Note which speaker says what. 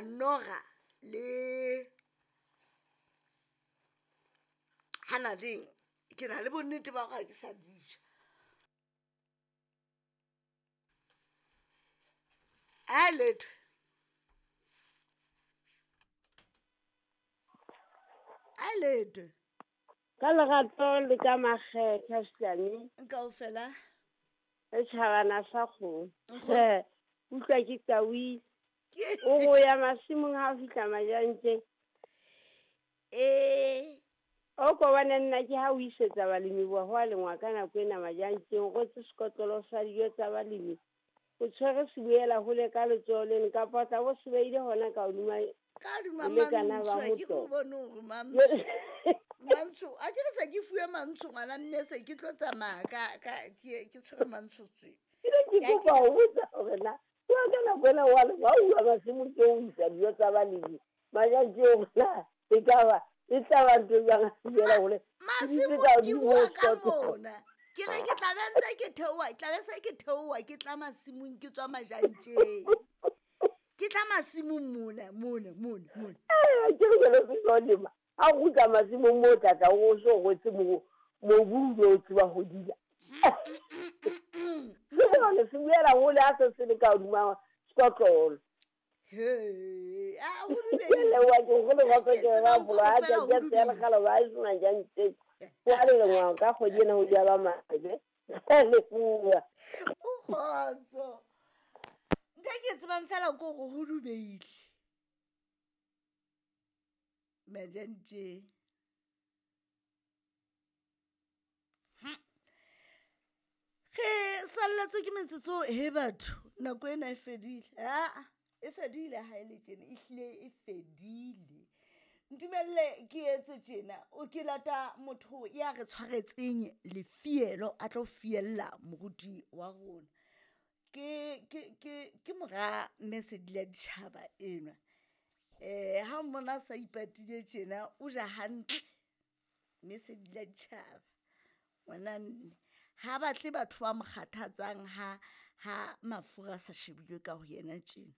Speaker 1: Noga le Hanading ke na le bonnete ba gore ga ke sa di ja. A letho. A letho.
Speaker 2: Ka lerato le ka makgetha Shlane.
Speaker 1: Kaofela.
Speaker 2: Setjhabana sa kgomo. Utlwa ke qawile. O go ya masimong ha o fihla Majantjeng.
Speaker 1: Ee.
Speaker 2: O ko bone nna ke ha o isetsa balemi boa ho a lengwa ka nako ena Majantjeng, o rwetse sekotlolo sa dijo tsa balemi. O tshwere seboela hole ka letsoho leno kapa o tla bo se beile hona ka hodima
Speaker 1: Ka hodima
Speaker 2: bolekana ba
Speaker 1: Mantsho, ha ke
Speaker 2: motoho.
Speaker 1: o bone hore Mantsho. Mantsho, a ke re se ke fuwe Mantsho ngwana mme se ke tlo tsamaya ka ka ke ke tshwere Mantsho tswe.
Speaker 2: Ke ne ke
Speaker 1: Ke a
Speaker 2: kopa ho botsa hore na wa ka nako ena wa lema ha uwa masimong ke o isa dijo tsa balemi Majantjeng hore na e ka ba e tla ba ntho e jwang ha seboela hole. Ke ditse
Speaker 1: Masimong
Speaker 2: ka
Speaker 1: ke
Speaker 2: hodimo
Speaker 1: bua
Speaker 2: ho
Speaker 1: ka
Speaker 2: sekotlolo.
Speaker 1: mona. Ke re ke tla be ntse ke theoha, ke tla be se ke theoha ke tla masimong ke tswa Majantjeng. Ke tla masimong mona mona mona mona.
Speaker 2: Eh, ke re jalo se tlo lema. Ha o kgutla masimong moo o tla tla o so rwetse mobu o be o tseba ho dila. Ke bone se boela hole ha se se le ka hodima sekotlolo.
Speaker 1: He, a ho
Speaker 2: Ke
Speaker 1: dubehile.
Speaker 2: leboha ke go le
Speaker 1: Ke
Speaker 2: kgotso ke
Speaker 1: tsebang
Speaker 2: ba boloa
Speaker 1: kaofela
Speaker 2: tjantjeng
Speaker 1: ho
Speaker 2: ya
Speaker 1: dubehile.
Speaker 2: lekgala ba e sena jantjeng. Ho a lengwa ka kgwedi ena ho di ba mabe. Leboha.
Speaker 1: O kgotso. Ntho e ke e tsebang fela ke hore ho dubehile. Majantjeng. Re salletswe ke metsotso he batho, nako ena e fedile. Aa, e fedile ha e le tjena, ehlile e fedile. Ntumelle ke etse tjena, o ke lata motho ya re tshwaretseng lefielo a tlo fiella moruti wa rona. Ke ke ke ke mora mme Sedila Ditjhaba enwa. Ha mmona a sa ipatile tjena, o ja hantle mme Sedila Ditjhaba. Ngwana mme ha batle batho ba mo kgathatsang ha ha mafura a sa shebilwe ka ho yena tjena.